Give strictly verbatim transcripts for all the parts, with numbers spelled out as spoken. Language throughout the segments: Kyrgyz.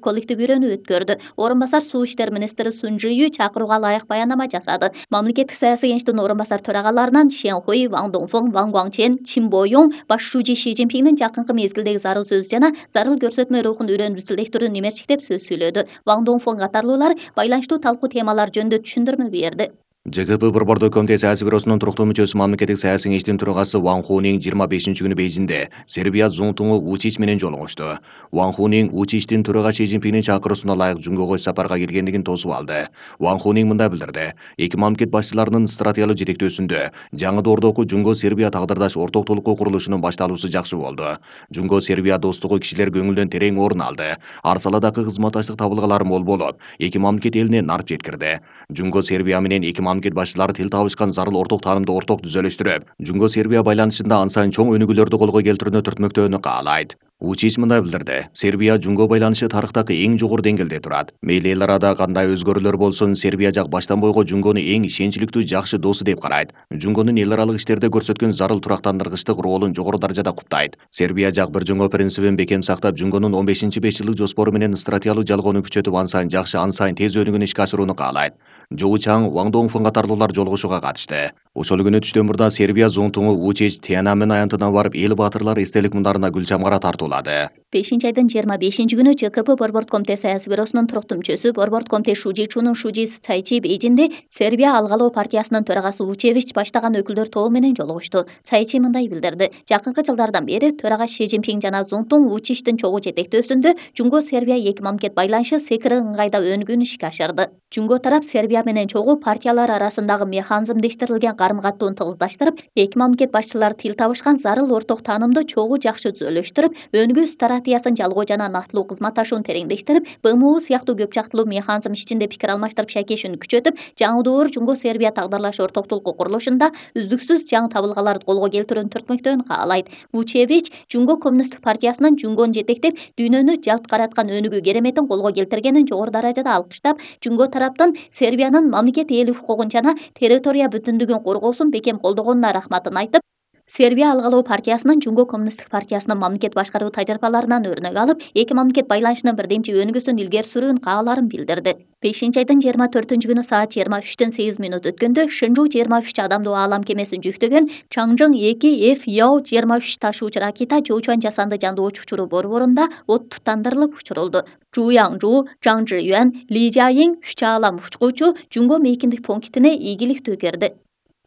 коллектив үйрөнүү өткөрдү. Орун басар суу иштери министри Сун Жыю чакырууга ылайык баянама жасады. Мамлекеттик саясий кеңештин орун басар төрагаларынан Шен Хуй, Ван Донгфeng, Ван Гуангчен, Чин Боюң баш шужи Ши Цзиньпиндин жакынкы мезгилдеги зарыл сөз жана зарыл көрсөтмө рухун үйрөнүп изчилдештирүүнү немерчиктеп сөз сүйлөдү. Ван Донгфeng катарлуулар байланыштуу талкуу темалар жөнүндө түшүндүрмө берди. ЖКП Борбордук комитет саясий бюросунун туруктуу мүчөсү мамлекеттик саясий кеңештин төрагасы Ван Хунин жыйырма бешинчи күнү Бейжиңде Сербия зонтуңу Вучич менен жолугушту. Ван Хунин Вучичтин төрага Ши Цзиньпиндин чакыруусуна ылайык Жунгого сапарга келгендигин тосуп алды. Ван Хунин мындай билдирди: эки мамлекет башчыларынын стратегиялык жетектөөсүндө жаңы доордогу Жунго Сербия тагдырдаш орток толуктуу курулушунун башталуусу жакшы болду. Жунго Сербия достугу кишилер көңүлдөн терең орун алды. Ар саладагы кызматташтык табылгалары мол болуп, эки мамлекет элине нарп жеткирди. Жунго Сербия менен эки мамлекет башчылары тил табышкан зарыл орток таанымды орток түзөлүштүрүп, Жунго Сербия байланышында ан сайын чоң өнүгүүлөрдү колго келтирүүнү түртмөктөөнү каалайт. Вучич мындай билдирди: Сербия Жунго байланышы тарыхтагы эң жогору деңгээлде турат. Мейли эл арада кандай өзгөрүүлөр болсун, Сербия жак баштан бойго Жунгону эң ишенчиликтүү жакшы досу деп карайт. Жунгонун эл аралык иштерде көрсөткөн зарыл турактандыргычтык ролун жогору даражада куттайт. Сербия жак бир жыңоо принцибин бекем сактап, Жунгонун он бешинчи беш жылдык жоспору менен стратегиялык жалгоону күчөтүп, ан сайын жакшы, ан сайын тез өнүгүүнү ишке ашырууну каалайт. Жоу Чаң, Ван Донгфeng катарлуулар жолугушууга катышты. Ошол күнү түштөн мурда Сербия зонтуңу Вучич Тиананмен аянтына барып, эл баатырлары эстелик мундарына гүл чамгара тартуулады. бешинчи айдын жыйырма бешинчи күнү ЖКП Борбордук комитет саясий бюросунун туруктуу мүчөсү, Борбордук комитет Шужи Чунун Шужи Цайчи Бейжиңде Сербия алгалоо партиясынын төрагасы Вучевич баштаган өкүлдөр тобу менен жолугушту. Цайчи мындай билдирди: жакынкы жылдардан бери төрага Ши Цзиньпин жана Зонтуң Вучичтин чогуу жетектөөсүндө Жунго Сербия эки мамлекет байланышы секири ыңгайда өнүгүүнү ишке ашырды. Жунго тарап Сербия менен чогуу партиялар арасындагы механизмдештирилген карым-каттоону тыгыздаштырып, эки мамлекет башчылары тил табышкан зарыл орток таанымды чогуу жакшы түзөлүштүрүп, өнүгүү стратегиясын жалгоо жана нактылуу кызматташууну тереңдештирип, Б М У сыяктуу көп жактылуу механизм ичинде пикир алмаштырып шайкешүүнү күчөтүп, жаңы доор Жунго Сербия тагдырлаш орток толуктуу курулушунда үздүксүз жаңы табылгаларды колго келтирүүнү түртмөктөөнү каалайт. Вучевич Жунго коммунисттик партиясынын Жунгону жетектеп, дүйнөнү жалт караткан өнүгүү кереметин колго келтиргенин жогору даражада алкыштап, Жунго тараптан Сербиянын мамлекет ээлик укугун жана территория бүтүндүгүн коргоосун бекем колдогонуна рахматын айтып, Сербия алгалоо партиясынын Жунго коммунисттик партиясынын мамлекет башкаруу тажрыйбаларынан өрнөк алып, эки мамлекет байланышынын бирдемчи өнүгүүсүн илгери сүрүүнү кааларын билдирди. бешинчи айдын жыйырма төртүнчү күнү саат жыйырма үчтөн сегиз минут өткөндө Шэнжу жыйырма үч адамдуу аалам кемесин жүктөгөн Чаңжың эки Ф Яо жыйырма үч ташуучу ракета Жоучуан жасанды жандоочу учуруу борборунда от тутандырылып учурулду. Жу Яңжу, Чаң Чжиюан, Ли Жаиң үч аалам учкучу Жунго мейкиндик пунктине ийгиликтүү кирди.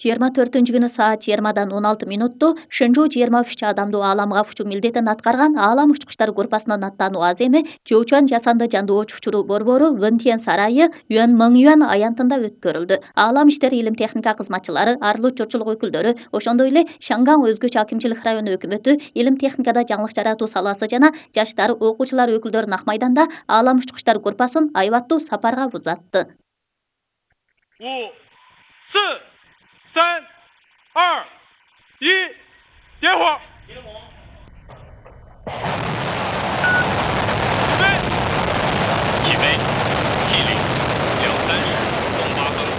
жыйырма төртүнчү күнү саат жыйырмадан он алты минутту Шэнжу жыйырма үч адамдуу ааламга учуу милдетин аткарган аалам учкучтар группасынын аттануу аземи Жоучуан жасанды жандоочу учуруу борбору Вэнтен сарайы Юан Мэңюан аянтында өткөрүлдү. Аалам иштери илим техника кызматчылары, арыл учурчулук өкүлдөрү, ошондой эле Шанган өзгөчө акимчилик району өкмөтү, илим техникада жаңылык жаратуу саласы жана жаштар, окуучулар өкүлдөрүн ак майданда аалам учкучтар группасын айбаттуу сапарга узатты. 三、二、一，点火！起飞！起飞！两三十，东八横。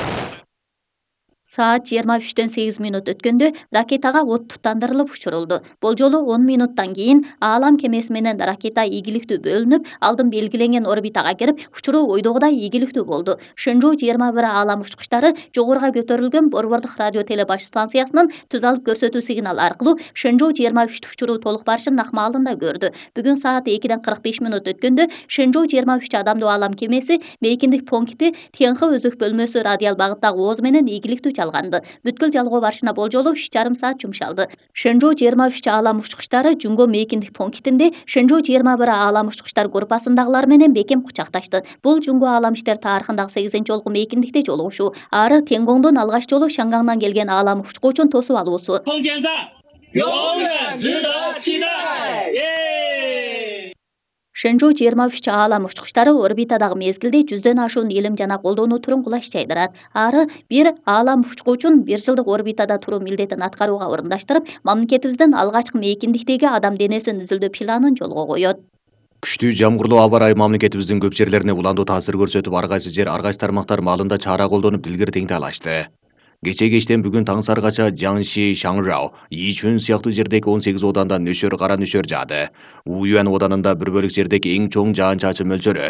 Саат жыйырма үчтөн сегиз минут өткөндө ракетага от тутандырылып учурулду. Бул жолу он минуттан кийин аалам кемеси менен ракета ийгиликтүү бөлүнүп, алдын белгиленген орбитага кирип, учуруу ойдогудай ийгиликтүү болду. Шэнжу жыйырма бир аалам учкучтары жогоруга көтөрүлгөн борбордук радио теле баш станциясынын түз алып көрсөтүү сигналы аркылуу Шэнжу жыйырма үч учуруу толук барышын акмалында көрдү. Бүгүн саат экиден кырк беш минут өткөндө Шэнжу жыйырма үч адамдуу аалам кемеси мейкиндик пункти Тенхы өзөк бөлмөсү радиал багыттагы ооз менен ийгиликтүү чалганды. Бүткүл жалгоо барышына болжолу үч жарым саат жумшалды. Шэнжу жыйырма үч аалам учкучтары Жунго мейкиндик пунктинде Шэнжу жыйырма бир аалам учкучтар группасындагылар менен бекем кучакташты. Бул Жунго аалам иштер тарыхындагы сегизинчи жолку мейкиндикте жолугушуу. Ары Тенгоңдон алгач жолу Шангаңдан келген аалам учкучун тосуп алуусу. Шэнжу жыйырма үч аалам учкучтары орбитадагы мезгилде жүздөн ашуун илим жана колдонуу турун кулаш жайдырат. Ары бир аалам учкучун бир жылдык орбитада туруу милдетин аткарууга орундаштырып, мамлекетибиздин алгачкы мейкиндиктеги адам денесин изилдөө планын жолго коет. Күчтүү жамгырлуу аба ырайы мамлекетибиздин көп жерлерине уландуу таасир көрсөтүп, ар кайсы жер, ар кайсы тармактар маалында чара колдонуп дилгир теңдей алышты. Кече кечтен бүгүн таң саргача Жаңши, Шаңжао, Ичүн сыяктуу жердеги он сегиз ооданда нөшөр кара нөшөр жаады. Уюан ооданында бир бөлүк жердеги эң чоң жаан чачын мөлчөрү